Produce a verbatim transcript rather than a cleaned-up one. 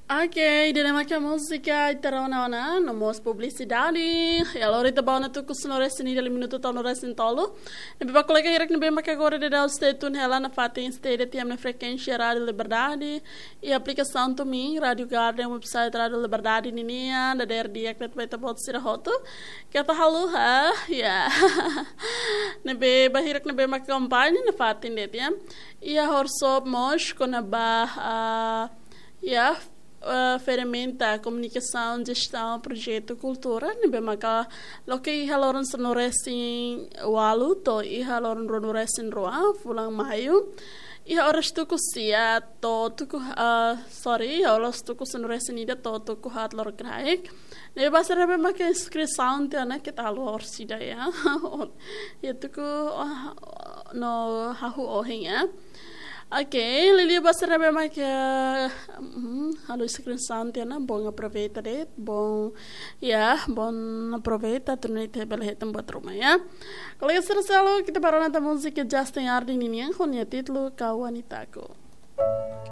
Ok, ida-ne'e maka múzika ita rona ona, no mós publisidade. Ya, lori ita ba ona tuku sanulu-resin-ida, liu minutu tolunulu-resin-tolu. Ne'ebé ba kolega hirak ne'ebé maka agora daudaun stay tune hela nafatin stay de'it iha ema nia frekuénsia Rádio Liberdade. Iha aplikasaun TuneIn, Rádio Garden, website Rádio Liberdade ninian, dadeer di'ak de'it ba ita-boot sira hotu. Keta haluha, ya. Ne'ebé ba hirak ne'ebé maka akompaña nafatin de'it, ya. Iha workshop mós kona-ba, ah, ya, eh, ferramenta komunikasaun, jestaun, projetu kultura, ne'ebé maka loke iha loron sanulu-resin-ualu to'o iha loron ruanulu-resin-rua, fulan Maiu. Iha oras tuku sia to'o tuku, eh, sorry, iha oras tuku sanulu-resin-ida to'o tuku haat loron kraik. Ne'ebé ba sira ne'ebé maka inskrisaun tiha ona, keta haluha orsida ya. Ya tuku, ah, no hahú ohin ya. Ok, liuliu ba sira ne'ebé maka, mm, halo inskrisaun tiha ona, bom aproveita de'it, bom, ya, bom aproveita, atu nune'e ita bele hetan buat ruma ya. Kolega sira seluk, ita ba rona tan múzika Justin Harding ninian, ho nia títulu Kau Wanitaku.